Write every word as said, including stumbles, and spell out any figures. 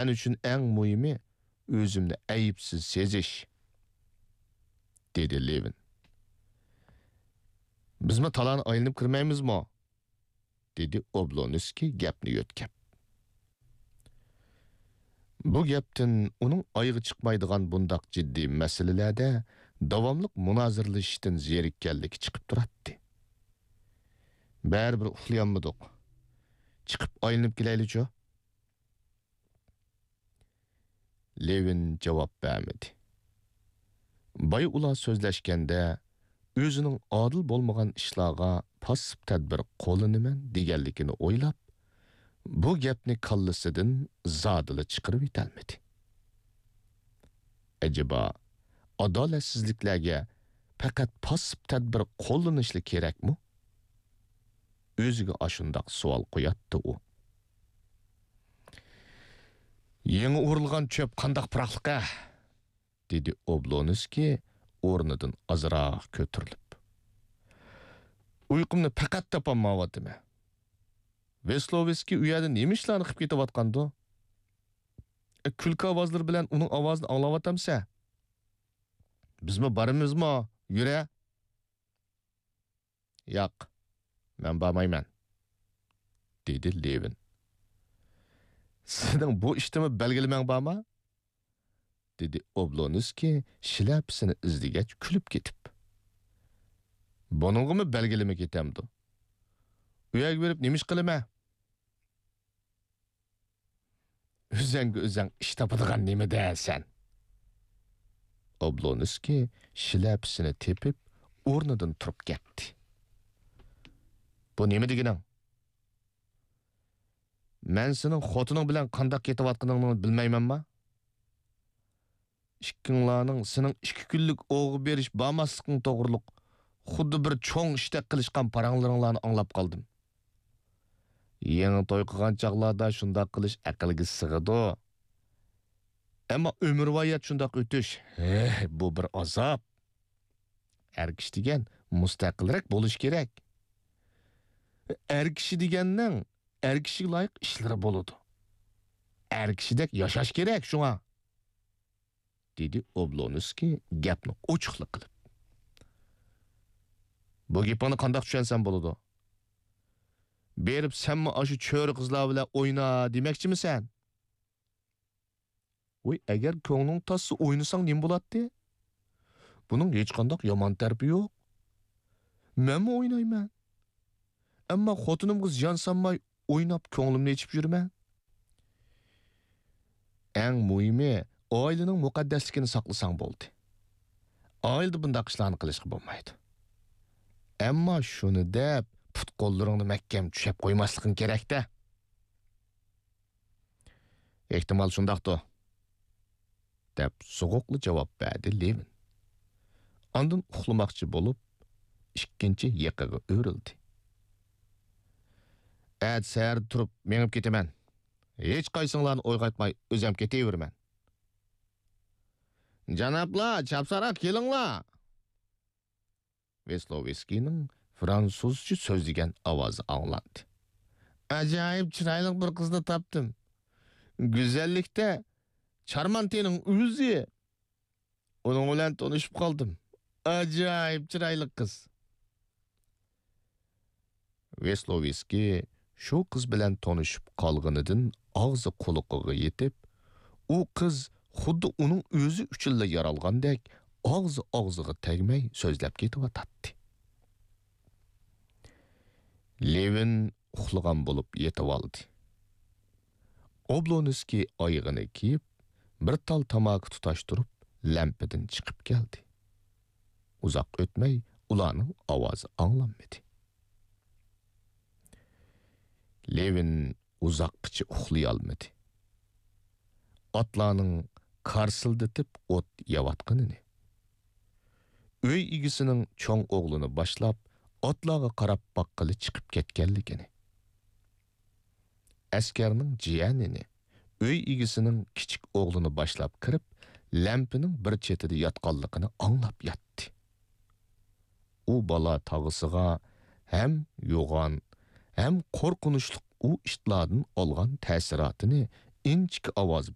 مەن ئۈچۈن ئەڭ مۇھىمى ئۆزۈمنى ئەيىبسىز سېزىش، دېدى لېۋىن. بىزمۇ تالاغا ئايلىنىپ كىرمەيمىزمۇ؟ دېدى ئوبلونسكىي گەپنى يۆتكەپ. بۇ گەپتىن ئۇنىڭ ئايىغى چىقمايدىغان بۇنداق جىددىي مەسىلىلەردە داۋاملىق مۇنازىرىلىشىشتىن زېرىككەنلىكى چىقىپ تۇراتتى. بەرىبىر ئۇخلىيالمىدۇق. چىقىپ ئايلىنىپ كېلەيلىچۇ؟ لېۋىن جاۋاب بەرمىدى. بايا ئۇلار سۆزلەشكەندە، ئۆزىنىڭ ئادىل بولمىغان ئىشلارغا پاسسىپ تەدبىر قوللىنىمەن دېگەنلىكىنى ئويلاپ، بۇ گەپنى كاللىسىدىن زادىلا چىقىرىۋېتەلمىدى. ئەجەبا، ئادالەتسىزلىكلەرگە پەقەت پاسسىپ تەدبىر قوللىنىشلا كېرەكمۇ؟ ئۆزىگە ئاشۇنداق سوئال قوياتتى ئۇ. يېڭى ئورۇلغان چۆپ قانداق پىراقلىق-ھە! دېدى ئوبلونسكىي ئورنىدىن ئازراق كۆتۈرۈلۈپ. ئۇيقۇمنى پەقەت تاپالمايۋاتىمەن. ۋېسلوۋسكىي ئۇ يەردە نېمە ئىشلارنى قىلىپ كېتىۋاتقاندۇ؟ ئە، كۈلكە ئاۋازلىرى بىلەن ئۇنىڭ ئاۋازىنى ئاڭلاۋاتامسەن؟ بىزمۇ بارىمىزمۇ؟ يۈرە! ياق، مەن بارمايمەن، دېدى لېۋىن. سېنىڭ بۇ ئىشتىمۇ بەلگىلىمەڭ بارما؟ دېدى ئوبلونسكىي شىلەپىسىنى ئىزدىگەچ كۈلۈپ كېتىپ. بۇنىڭغىمۇ بەلگىلىمە كېتەمدۇ؟ ئۇ يەرگە بېرىپ نېمە ئىش قىلىمەن؟ ئۆزەڭگە ئۆزەڭ ئىش تاپىدىغان نېمىدە سەن؟ ئوبلونسكىي شىلەپىسىنى تېپىپ، ئورنىدىن تۇرۇپ كەتتى. بۇ نېمە دېگىنىڭ؟ مەن سېنىڭ خوتۇنۇڭ بىلەن قانداق كېتىۋاتقىنىڭنى بىلمەيمەنما؟ ئىككىڭلارنىڭ سېنىڭ ئىككى كۈنلۈك ئوۋغا بېرىش بارماسلىقىڭ توغرۇلۇق خۇددى بىر چوڭ ئىشتەك قىلىشقان پاراڭلىرىڭلارنى ئاڭلاپ قالدىم. يېڭى توي قىلغان چاغلاردا شۇنداق قىلىش ئەقىلگە سىغىدۇ. ئەمما ئۆمۈرۋايەت شۇنداق ئۆتۈش، ھەي، بۇ بىر ئازاب. ئەر كىشى دېگەن مۇستەقىلرەك بولۇشى كېرەك. ئەر كىشى دېگەننىڭ ئەر كىشىگە لايىق ئىشلىرى بولىدۇ. ئەر كىشىدەك ياشاش كېرەك شۇڭا، دېدى ئوبلونسكىي گەپنى ئوچۇقلا قىلىپ. بۇ گېپىڭنى قانداق چۈشەنسەم بولىدۇ؟ بېرىپ سەنمۇ ئاشۇ چۆرە قىزلار بىلەن ئوينا دېمەكچىمىسەن؟ ۋاي، ئەگەر كۆڭلۈڭ تارتسا ئوينىساڭ نېمە بولاتتى؟ بۇنىڭ ھېچقانداق يامان تەرىپى يوق. مەنمۇ ئوينايمەن. ئەمما خوتۇنۇمغا زىيان سالماي ئويناپ كۆڭلۈمنى ئېچىپ يۈرىمەن. ئەڭ مۇھىمى، ئائىلىنىڭ مۇقەددەسلىكىنى ساقلىساڭ بولدى. ئائىلىدە بۇنداق ئىشلارنى قىلىشقا بولمايدۇ. ئەمما شۇنى دەپ، پۇت-قوللىرىڭنى مەھكەم چۈشەپ قويماسلىقىڭ كېرەك-دە. ئېھتىمال شۇنداقتۇ، دەپ سوغۇقلا جاۋاب بەردى لېۋىن. ئاندىن ئۇخلىماقچى بولۇپ، ئىككىنچى يىقىغا ئۆرۈلدى. ئەتە سەھەردە تۇرۇپ مېڭىپ كېتىمەن. ھېچقايسىڭلارنى ئويغاتماي ئۆزۈم كېتىۋېرىمەن. جانابلار، چاپسانراق كېلىڭلار! ۋېسلوۋسكىينىڭ فرانسۇزچە سۆزلىگەن ئاۋازى ئاڭلاندى. ئاجايىپ چىرايلىق بىر قىزنى تاپتىم. گۈزەللىكتە چارمانتىنىڭ ئۆزى. ئۇنىڭ بىلەن تونۇشۇپ قالدىم. ئاجايىپ چىرايلىق قىز. ۋېسلوۋسكىي شۇ قىز بىلەن تونۇشۇپ قالغىنىدىن ئاغزى قۇلىقىغا يېتىپ، ئۇ قىز خۇددى ئۇنىڭ ئۆزى ئۈچۈنلا يارالغاندەك ئاغزى ئاغزىغا تەگمەي سۆزلەپ كېتىۋاتاتتى. لېۋىن ئۇخلىغان بولۇپ يېتىۋالدى. ئوبلونسكىي ئايىغىنى كىيىپ، بىر تال تاماكا تۇتاشتۇرۇپ، لەمپىدىن چىقىپ كەلدى. ئۇزاق ئۆتمەي ئۇلارنىڭ ئاۋازى ئاڭلانمىدى. لېۋىن ئۇزاققىچە ئۇخلىيالمىدى. ئاتلارنىڭ كارسىلدىتىپ ئوت يەۋاتقىنىنى، ئۆي ئىگىسىنىڭ چوڭ ئوغلىنى باشلاپ، ئاتلارغا قاراپ باققىلى چىقىپ كەتكەنلىكىنى، ئەسكەرنىڭ جىيەنىنى، ئۆي ئىگىسىنىڭ كىچىك ئوغلىنى باشلاپ كىرىپ، لەمپىنىڭ بىر چېتىدە ياتقانلىقىنى ئاڭلاپ ياتتى. ئۇ بالا تاغىسىغا ھەم يوغان، ھەم قورقۇنچلۇق ئۇ ئىتلاردىن ئالغان تەسىراتىنى ئىنچىكە ئاۋاز